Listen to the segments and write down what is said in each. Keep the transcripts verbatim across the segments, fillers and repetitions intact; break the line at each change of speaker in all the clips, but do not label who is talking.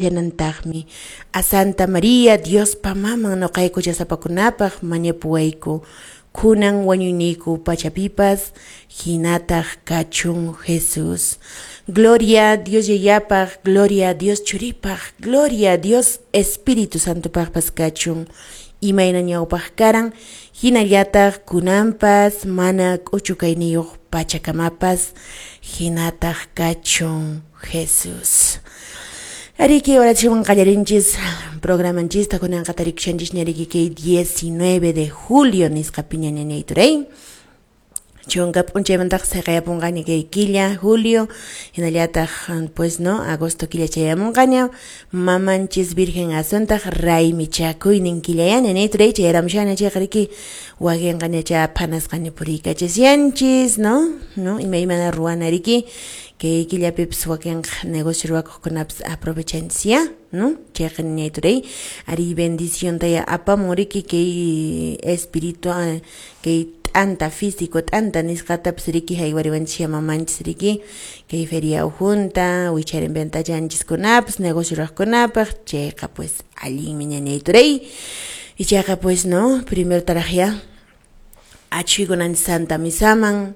Llanantaqmi a Santa María, Diospa maman, noqayku huchasapakunapaq mañapuwayku, kunan wañuyniyku pachapipas, hinataq kachun Jesús. Gloria Dios Yayapaq, gloria Dios Churipaq, gloria Dios Espíritu Santopaqpas kachun. Imayna ñawpaq karan, hinallataq kunanpas, mana k'uchukayniyuq pachakamapas, hinataq kachun Jesús. Ariki, oración qallarinchis programanchista kunanqa tarikushanchis ñariki kay diecinueve de julio nisqapiña ñañay turay. Chunka p'unchaymantaq seqayapunqaña kay killa julio, hinallataq pues no, agosto killa chayamunqaña, mamanchis Virgen Asuntaq raymichakuynin killayá ñañay turay chayaramushana chayqa riki wakinqaña cha phanasqaña puriykachashanchis, no? No, imaymana ruwana riki kay killapipis wakinqa negocio ruwakuqkunapas aprovechanchis ya, no? Chayqa ñañay turay ari bendición taya apamun riki kay espiritual kay t'anta físico t'anta nisqatapas riki haywariwanchis mamanchis riki kay feria ujunta wicharin ventachanchiskunapas negocio ruwaqkunapaq chayqa pues allinmi ñañay turay ichaqa pues no primero taraq ya achhuykunanchis Santa Misaman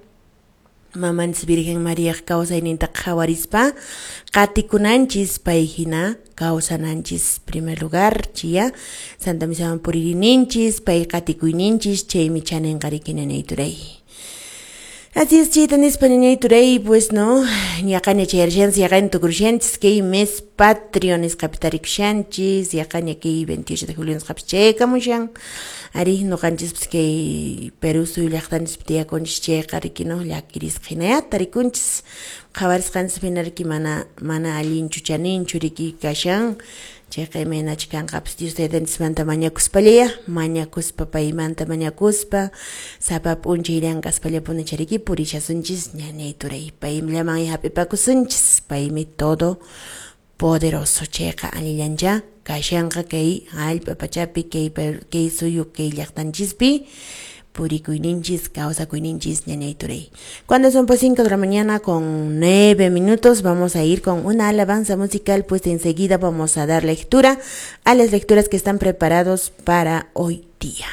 mamanchis Virgen Mariaq kawsayninta qhawarispa qatikunanchis pay hina kawsananchis primer lugar chiya Santa Misaman puririninchis pay qatikuyninchis chaymi chaninqa riki ñañay turay. Así es, chayta nispa ñañay turay pues no yaqaña chayarashanchis yaqaña tukurushanchis kay mes patrio nisqapi tarikushanchis yaqaña kay veintiocho de julio nisqapi chayakamushan ari noqanchispas kay Perú suyu llaqtanchispi tiyakunchis chayqa riki no llakirisqa hinaya tarikunchis qhawarisqanchis hina riki mana mana allinchu chaninchu riki kashan chayqa imaynachi kanqapas Dios taytanchismanta mañakuspallaya mañakuspa paymanta mañakuspa sapa p'unchay llank'aspallapuni chariki purishasunchis ñañay turay payllaman hap'ipakusunchis paymi todo poderoso chayqa allillancha kashanqa kay hallp'a pachapi kay kay suyu kay llaqtanchispi purikuyninchis kawsakuyninchis ñañay turay. Cuando son pues cinco de la mañana con nueve minutos vamos a ir con una alabanza musical, pues enseguida vamos a dar lectura a las lecturas que están preparados para hoy día.